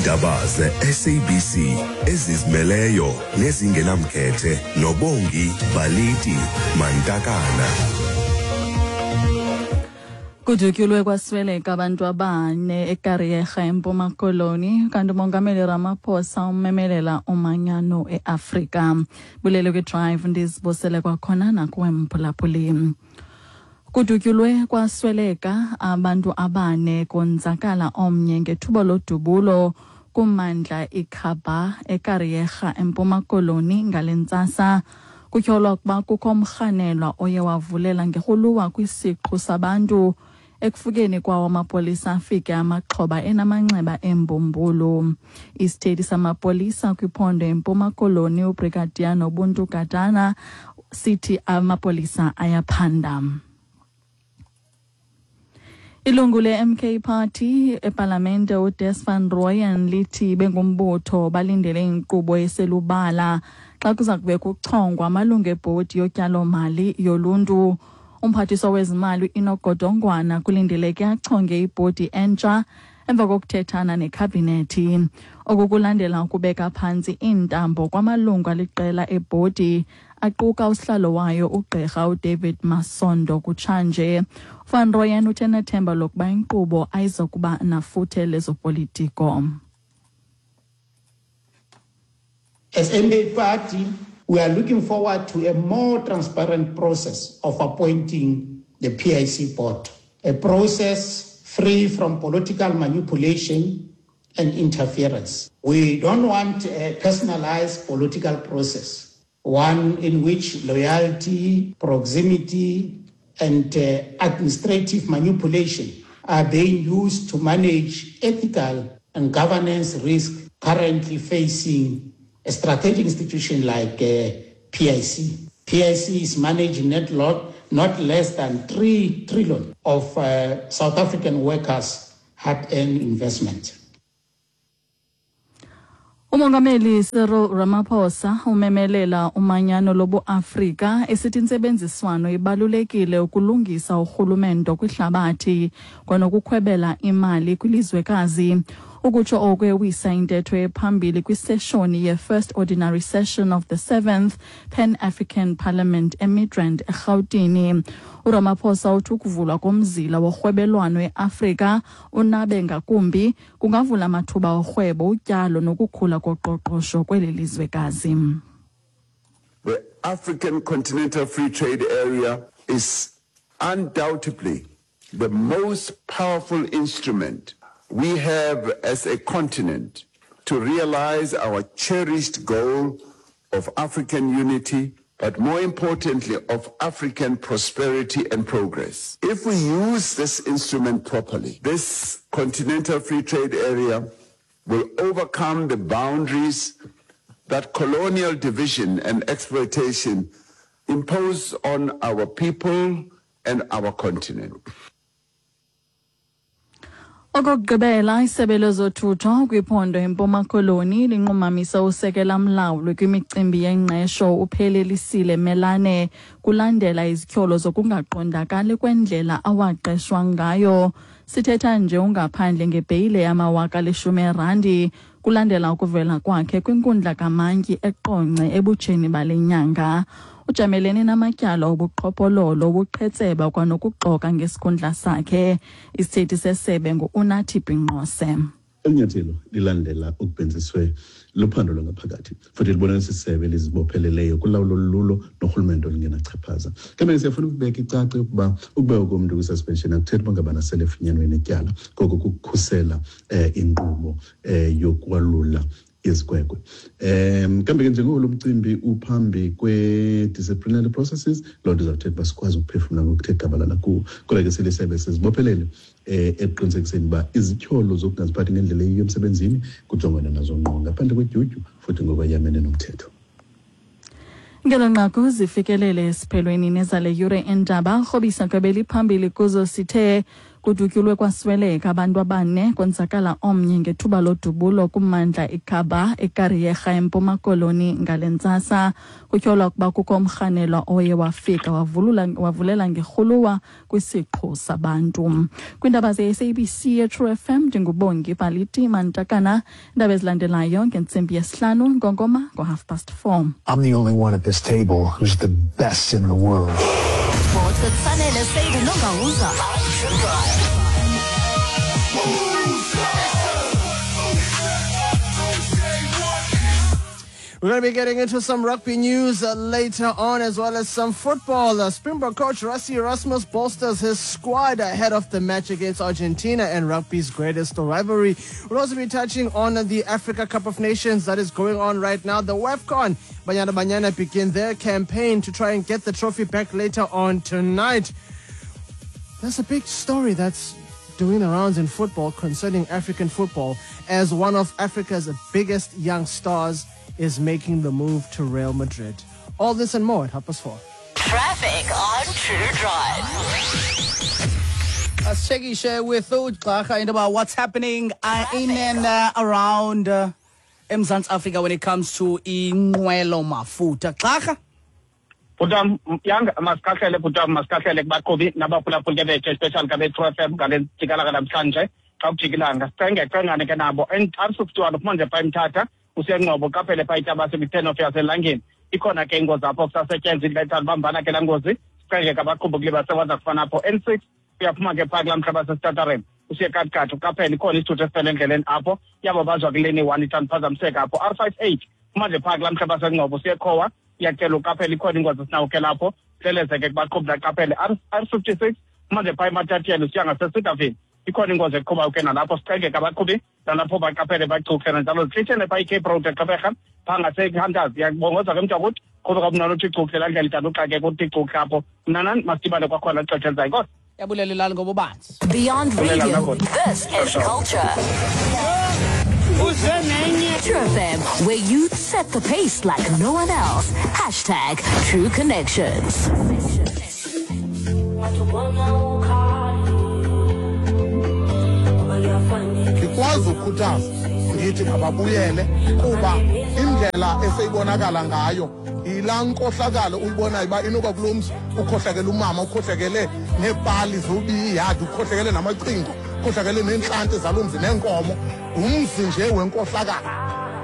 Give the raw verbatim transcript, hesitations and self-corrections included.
Iindaba ze-S A B C ezizimeleyo nezingenamkhethe noBongi Baliti Mantakana. Kudutyulwe kwasweleka abantu abane eKariega eMpuma Koloni, kanti uMongameli Ramaphosa umemelela umanyano eAfrika. Bulele kwiDrive, ndizibusele kwakhona nakuwe mphulaphuli. Kudutyulwe kwasweleka abantu abane konzakala omnye ngethuba lodubulo kummandla iKhaba eKariega eMpuma Koloni ngale ntsasa. Kutyholwa ukuba kukho umrhanelwa oye wavulela ngerhuluwa kwisiqhu sabantu. Ekufikeni kwawo amapolisa afike amaxhoba enamanxeba embumbulu. Isithethi samapolisa kwiphondo eMpuma Koloni uBrigadier Nobuntu Gadana sithi amapolisa ayaphanda. Ilungu le-M K Party epalamente uDes van Rooyen lithi bengumbutho balindele inkqubo eselubala xa kuza kube kuchongwa amalungu ebhodi yotyalomali yoluntu. Umphathiswa wezimali uEnoch Godongwana kulindeleke achonge ibhodi entsha emva kokuthethana nekhabhinethi. Oku kulandela ukubeka phantsi iintambo kwamalungu aliqela ebhodi aquka usihlalo wayo ugqirha uDavid Masondo kutshanje. Van Rooyen uthe nethemba lokuba inkqubo ayizokuba nafuthe lezopolitiko. As M K Party, we are looking forward to a more transparent process of appointing the P I C board, a process free from political manipulation and interference. We don't want a personalized political process, one in which loyalty, proximity, and uh, administrative manipulation are being used to manage ethical and governance risk currently facing a strategic institution like uh, P I C. P I C is managing net lot, not less than three trillion of uh, South African workers' hard-earned investment. Umongameli Cyril Ramaphosa umemelela umanyano lobuAfrika esithi intsebenziswano ibalulekile ukulungisa urhulumento kwihlabathi kwanokukhwebela imali kwilizwekazi. Ukutsho oku ewisa intetho ephambili kwiseshoni ye-First Ordinary Session of the seventh Pan-African Parliament eMidrand eRhawutini. uRamaphosa uthi ukuvulwa komzila worhwebelwano eAfrika unabe ngakumbi kungavula amathuba orhwebo, utyalo nokukhula koqoqosho kweli lizwekazi. The African Continental Free Trade Area is undoubtedly the most powerful instrument we have as a continent to realize our cherished goal of African unity, but more importantly, of African prosperity and progress. If we use this instrument properly, this Continental Free Trade Area will overcome the boundaries that colonial division and exploitation impose on our people and our continent. Okokugqibela, isebe lezothutho kwiphondo eMpuma Koloni linqumamisa usekela mlawuli kwimicimbi yengqesho uPhelelisile Melane kulandela izityholo zokungaqondakali kwendlela awaqeshwa ngayo. Sithetha nje ungaphandle ngebheyile yamawaka alishumi erandi kulandela ukuvela kwakhe kwinkundla kamantyi eQonce ebutsheni bale nyanga. Ujamelene namatyala obuqhophololo, ubuqhetseba kwanokuxoka ngesikhundla sakhe. Isithethi sesebe ngu-Unathi Binqose. Eli nyathelo lilandela ukubhenziswe luphando lwangaphakathi futhi libonalisa isebe lizibopheleleyo kulawulo lulo norhulumente olungenachaphaza. Kambe siyafuna ukubeka icace ukuba ukubekwa komntu kwi-suspension akuthethi uba ngabana sele efunyanwe netyala, koko kukukhusela um inkqubo um yokwalula izikwekwe. Um kambe ke njengoko lo mcimbi uphambi kwe-disciplinary processes, loo nto izawuthetha uba sikwazi ukuphefumla ngokuthe gabalala kuwo. Kodwa ke silisebe sizibophelele um ekuqinisekiseni uba izityholo zokungaziphathi ngendlela eyiyo emsebenzini kujongwana nazo ngqo ngaphandle kwedyudyu futhi ngokwayamene nomthetho. Ngelo nqaku zifikelele esiphelweni nezale yure endaba. Rhobisa kwebeliphambili kuzo sithe Kudutyulwe kwasweleka abantu abane, konzakala omnye ngethuba lodubulo kummandla iKhaba eKariega eMpuma Koloni ngale ntsasa. Kutyholwa ukuba kukho umrhanelwa oye wafika wavulula wavulela ngerhuluwa kwisiqhu sabantu. Kwiindaba ze-S A B C ye-True F M, ndinguBongi Baliti Mantakana. Iindaba ezilandelayo ngentsimbi yesihlanu ngongoma ngo-half past four. I'm the only one at this table who's the best in the world. Sports with Sanele Seide Nongawuza. We're going to be getting into some rugby news uh, later on, as well as some football. Uh, Springbok coach Rassie Erasmus bolsters his squad ahead of the match against Argentina and rugby's greatest rivalry. We'll also be touching on the Africa Cup of Nations that is going on right now. The WAFCON, Banyana Banyana begin their campaign to try and get the trophy back later on tonight. There's a big story that's doing the rounds in football concerning African football, as one of Africa's biggest young stars is making the move to Real Madrid. All this and more at half past four. Traffic on True Drive. Let's check it with Ugqarha about what's happening uh, in and uh, around uh, eMzantsi Africa when it comes to inqwelo mafutha. Gqarha? Bhutam yang masikahlele bhutam masikahlele kubaqhubi nabaphulaphuli ke bethu, especially kabe True F M ngale jikalaka namhlanje xa kujikilanga sicenge cengane ke nabo N R sixty-one manje pha eMthatha uSiyangcobo qaphele pha itabase kwi-ten of yaselangeni ikhona ke ingozi apho kusasetyenzwa indlela bambana ke laa ngozi sicenge ke abaqhubi kule basebenza kufana apho N six uyaphuma ke phaa kulaa mhlaba sesitatareni usiye Katikati uqaphele ikhona isithuthu esifele endleleni apho iyababazwa kuleni one ithanda phazamiseka apho R five eight manje phaa kulaa mhlaba sengcobo usiye Khowa iyacela uqaphele ikhona ingozi esinawo ke lapho hleleze ke kubaqhubi laqaphele R fifty-six manje phaa eMatatiele usiya ngaseSidaville ikhona ingozi eqhubayo ke nalapho sicenge ke abaqhubi nalapho baqaphele bacuhle nanjalo zihlithene phaa iCape Road eGqeberha phaa ngaseHunters iyabongoza ke mntu akuthi qhuba kamnani uthi cuhle laa ndlela ithanda uxakeka uthi cuhle apho mnanani masidibane kwakhona xesha elizayo inkosi. Yabulela ilali ngobubanzi. Beyond radio, this is culture. True F M, where youth set the pace like no one else. Hashtag True Connections. Ndikwazi ukukhuthaza ngithi mababuyele kuba indlela eseyibonakala ngayo yilaa nkohlakalo uyibonayo uba inoba kulo mzi ukhohlakele umama, ukhohlakele neepali zobiyiyadi, ukhohlakele namacingo, ukhohlakele neentlanti zalo mzi neenkomo, ngumzi nje wenkohlakalo.